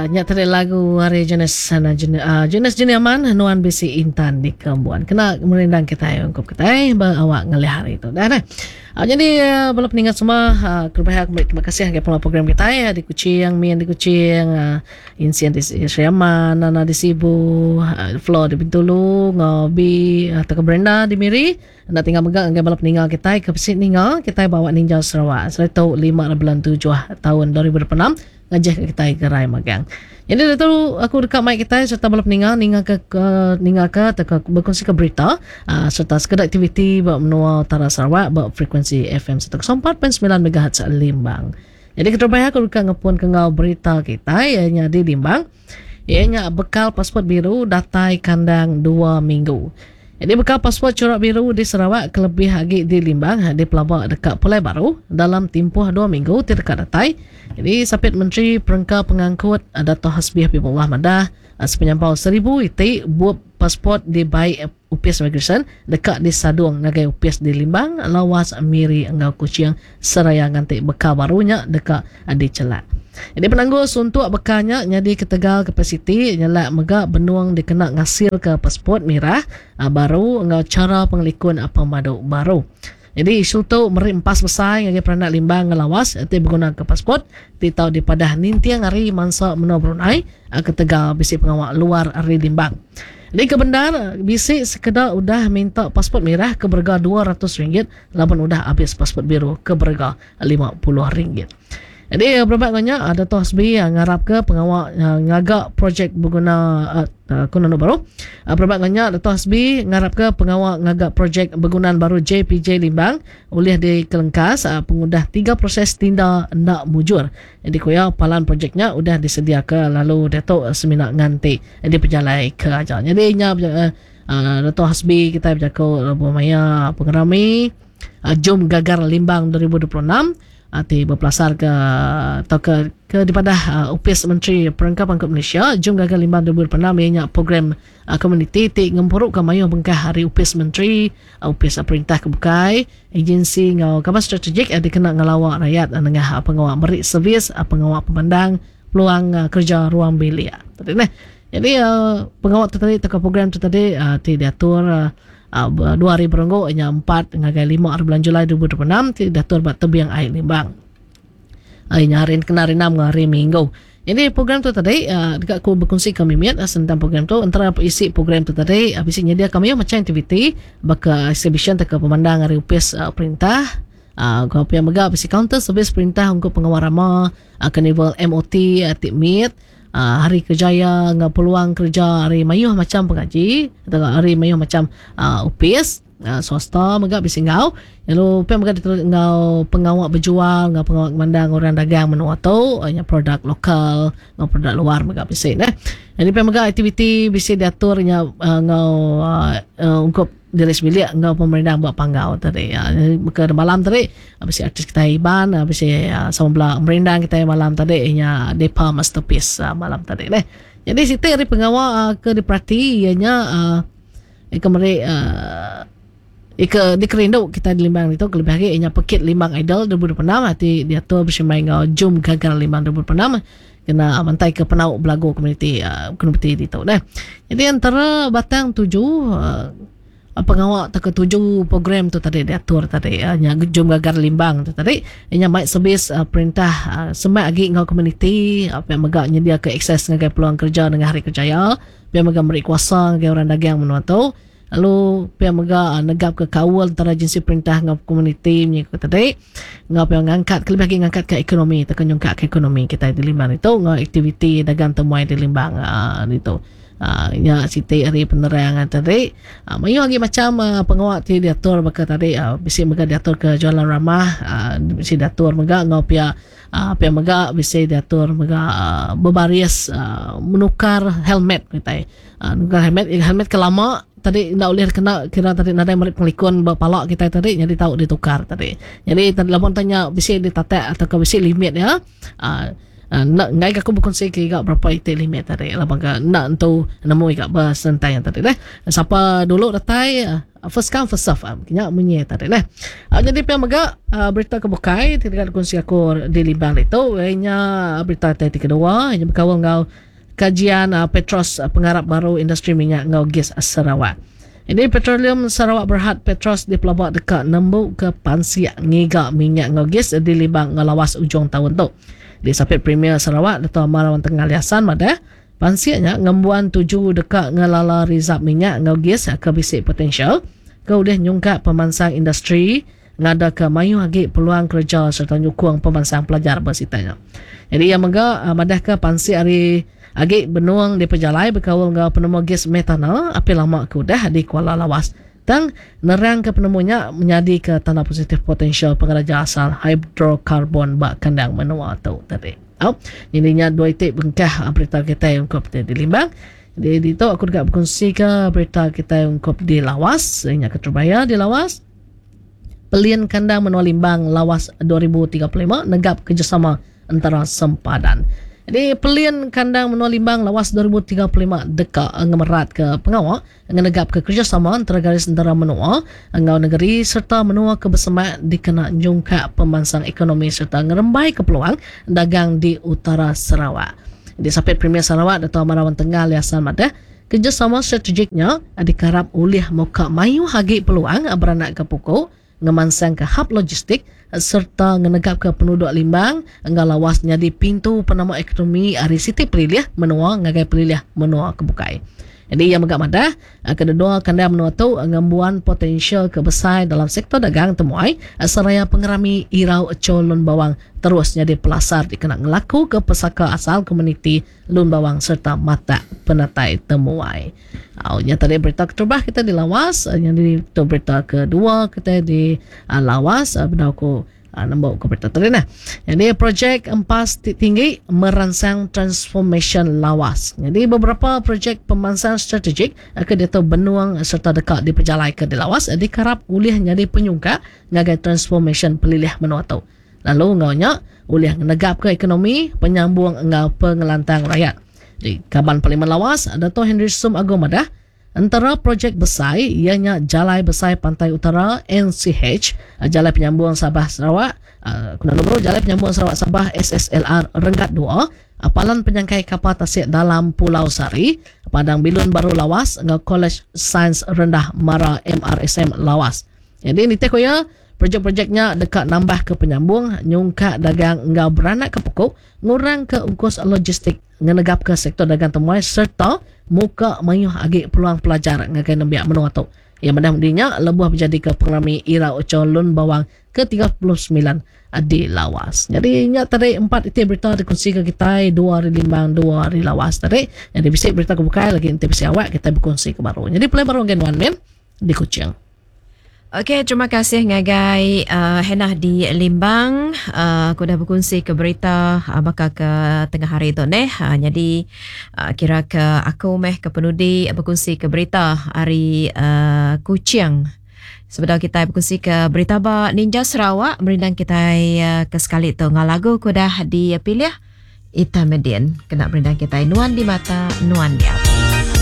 Nya tadi lagu ari Jonas sana Jonas Junior Man nuan bisi intan di kembuan. Kena merindang kitai ungkup kitai ba awak ngalih hari tu. Dah dah. Jadi bala peninga semua kelebih aku meri terima kasih ngagai pengawa program kitai di Kuching, Min di Kuching, Insian di Sri Aman, Nana di Sibu, Flo di Bintulu, enggau B atau Brenda di Miri. Enda tinggal mega ngagai bala peninga kitai ke bisi ninga kitai ba awak ninjau Sarawak saritu lima ari bulan tujuh taun 2026 ngajih ka kitai gerai magang. Nyadi ditu aku deka mai kitai sereta bala peninga ninga ke ninga ke tauka bekunsi ke berita aaa sereta sekeda aktiviti ba menua utara Sarawak ba frekuensi FM 104.9 megahertz Limbang. Nyadi keterubah aku deka ngepun ke enggau berita kitai iya nya di Limbang. Iya nya bekal pasport biru datai kandang dua minggu. Nyadi bekal pasport churak biru di Sarawak kelebih agi di Limbang dipelaba deka pulai baru dalam timpuh dua minggu ti deka datai. Nyadi Sapit Menteri Perengka Pengangkut Dato Hasbi Habibollah madah sepenyampau seribu iti bup pasport dibai Opis Imigresen deka disadung ngagai opis di Limbang, Lawas, Miri enggau Kuching seraya nganti bekal baru nya deka dichelak. Nyadi penanggul suntuk bekal nya nyadi ketegal kapasiti nyelak mega benung dikena ngasilka passport mirah baru enggau chara pengelikun pemadu baru. Nyadi isu tu meri empas besai ngagai peranak Limbang enggau Lawas ti begunaka passport ti tau dipadah ninting hari mansa menua Brunei ketegal bisi pengawa luar ari Limbang. Nyadi ke bendar bisi sekeda udah minta passport mirah ke berega RM200 laban udah abis passport biru ke berega RM50. Nyadi berebak enggau nya Dato Hasbi ngarapka pengawa ngaga projek beguna ku nunu baru. Berebak enggau nya Dato Hasbi ngarapka pengawa ngaga projek begunan baru JPJ Limbang ulih dikelengkas pengudah tiga proses tinda enda mujur. Nyadi ku iya palan projek nya udah disediaka lalu diatu semina nganti dipejalaika aja. Nyadi nya Dato Hasbi kitai bejaku lebuh maya pengerami Jom Gagar Limbang 2026 ti bepelasarka tauka ke dipadah Opis Menteri Perengka Pangkut Malaysia, Jom Gagar Limbang 2026 iya nya program komuniti ti ngempuruka mayuh bengkah ari opis menteri, opis perintah ke bukai, agensi enggau kaban strategik dikena ngelawa rayat nengah pengawa meri servis pengawa pemandang peluang kereja ruang bilik. Tadi neh. Jadi pengawa tu tadi tauka program tu tadi ti diatur dua hari berenggu nya empat ngagai lima hari bulan Julai 2026 ti diatur ba Tebing Ai Limbang. Hari nya hari kena hari enam enggau hari Minggu. Jadi program tu tadi deka aku bekunsi ke mimit sentang program tu entara isi program tu tadi bisi nyediaka mayuh macam aktiviti baka exhibition tauka pemandang ari opis perintah enggau pia mega bisi kaunter servis perintah ungkup pengawa rama karnival MOT ti mit. Hari kerjaya enggau peluang kereja ari mayuh macham pengaji atau ari mayuh macham opis swasta mega bisi enggau lalu pia mega diterus enggau pengawa bejual enggau pengawa ngemandang orang dagang menua tu nya produk lokal enggau produk luar mega bisi neh. Jadi pia mega aktiviti bisi diatur nya enggau ungkup Diri sebilik enggau pemerindang ba panggau tadi. Baka malam tadi bisi artis kitai Iban bisi sama bela merindang kitai malam tadi nya Depa Masterpiece malam tadi neh. Jadi siti ari pengawa ke diperati iya nya ika meri ika dikerindu kitai di Limbang ditu kelebih agi iya nya Pekit Limbang Idol 2026 ti diatur besemai enggau Jom Gagal Limbang 2026. Kena mantai ke penau belagu komuniti komuniti ditu neh. Jadi antara batang tuju pengawa tauka tuju program tu tadi diatur tadi nya Jom Gagar Limbang tu tadi nya mai servis perintah semak agi enggau komuniti pia mega nyediaka akses ngagai peluang kereja nengah hari kerjaya pia mega meri kuasa ngagai orang dagang menua tu. Lalu pia mega negapka kaul entara agensi perintah enggau komuniti munyi ku tadi enggau pia ngangkat kelebih agi ngangkatka ekonomi tauka nyungkakka ekonomi kitai di Limbang ditu enggau aktiviti dagang temuai di Limbang uhh ditu. Uhh nya siti ari penerang tadi. Uhh mayuh agi macham pengawa ti diatur baka tadi uhh bisi mega diatur ke jualan ramah uhh bisi diatur mega enggau pia uhh pia mega bisi diatur mega uhh bebaris uhh menukar helmet kitai. Nukar helmet, helmet ke lama tadi enda ulih kena kira tadi nadai meri pengelikun ba pala kitai tadi nyadi tau ditukar tadi. Nyadi lamun tanya bisi ditatak atau ke bisi limit iya uhh. Enda enggai ga aku bekunsi ke iga berapa iti limit tadi laban ga enda entu nemu iga besentai tadi deh. Sapa dulu datai first come first serve nya munyi tadi deh. Nyadi pia mega berita ke bukai ti deka dikunsi aku di Limbang ditu iya nya berita ti kedua iya bekaul enggau Kajian Petros Pengarap Baru Industri Minyak enggau Gis Sarawak. Ini Petroleum Sarawak Berhad Petros dipelaba deka nembuka pansik ngiga minyak enggau gis di Libang enggau Lawas ujung taun tu. Disapit Premier Sarawak Datuk Amar Awang Tengah Ali Hassan madah, pansik nya ngembuan tuju deka ngelala rizab minyak enggau gis ke bisi potensial ke ulih nyungkak pemansang industri ngadaka mayuh agi peluang kereja sereta nyukung pemansang pelajar ba sitak nya. Nyadi iya mega madahka pansik ari agi benung dipejalai bekaul enggau penemu gis metana api lama ke udah di Kuala Lawas. Tang, nerangka penemu nya menyadika tanda positif potensial pengeraja asal hidrokarbon ba kandang menua tu tadi. Au, nyadi nya dua iti bengkah berita kitai ungkup ti dilimbang. Jadi ditu aku deka bekunsika berita kitai ungkup di Lawas, nya keterubah iya di Lawas. Pelin Kandang Menua Limbang Lawas 2035 negap kerjasama entara sempadan. Jadi Pelin Kandang Menua Limbang Lawas 2035 deka ngemeratka pengawa ngenegapka kerjasama entara garis entara menua enggau negeri sereta menua ke besemak dikena nyungkak pemansang ekonomi sereta ngerembaika peluang dagang di utara Sarawak. Disapit Premier Sarawak Datuk Amar Awang Tengah Ali Hasan madah, Kerjasama strategik nya dikarap ulih muka mayuh agi peluang beranakka puku, ngemansangka hab logistik sereta ngenegapka penuduk Limbang enggau Lawas nyadi pintu penama ekonomi ari siti pelilih menua ngagai pelilih menua ke bukai. Nyadi iya mega madah, kededua kandang menua tu ngembuan potensial ke besai dalam sektor dagang temuai seraya pengerami Irau Cho Lun Bawang terus nyadi pelasar dikena ngelakuka pesaka asal komuniti Lun Bawang sereta matak penatai temuai. Au nya tadi berita keterubah kita di Lawas, nyadi tu berita kedua kita di Lawas bedau ku nembu ku berita tadi nah. Nyadi projek empas ti tinggi meransang transformasyen Lawas. Nyadi beberapa projek pemansang strategik ke diatu benung sereta deka dipejalaika di Lawas dikarap ulih nyadi penyungkak ngagai transformasyen pelilih menua tu. Lalu enggau nya ulih ngenegapka ekonomi, penyambung enggau pengelantang rayat. Di Kaban Parlimen Lawas, Dato Henry Sum Agong madah, entara projek besai iya nya Jalai Besai Pantai Utara, NCH, Jalai Penyambung Sabah Sarawak, ku Nando Baru, Jalai Penyambung Sarawak Sabah, SSLR, Renggat dua, Palan Penyangkai Kapal Tasik Dalam Pulau Sari, Padang Bilun Baru Lawas enggau Kolej Sains Rendah Mara MRSM Lawas. Nyadi nitih ku iya, projek-projek nya deka nambahka penyambung, nyungkak dagang enggau beranakka puku, ngurangka ungkus logistik, ngenegapka sektor dagang temuai sereta muka mayuh agi peluang pelajar ngagai nembiak menua tu. Iya madah mudi nya lebuh bejadika pengerami Ira Ucho Lun Bawang ke 39 di Lawas. Nyadi nya tadi empat iti berita dikunsika kitai dua ari Limbang dua ari Lawas tadi. Nyadi bisi berita ke bukai lagi enti bisi awak kitai bekunsika baru. Nyadi pulai baru ngagai nuan min di Kuching. Okey, terima kasih ngagai uh, Hannah di Limbang. Uh, aku dah berkongsi ke berita uh, baka ke tengah hari tu neh. Uh, jadi uh, kira ke aku meh ke penudi berkongsi ke berita hari uh, Kuching. Sebedau kita berkongsi ke berita ba Ninja Sarawak, merindang kita uh, ke sekali tu ngau lagu ku dah dipilih Ita Medin. Kena merindang kita Nuan di Mata, Nuan Diatu.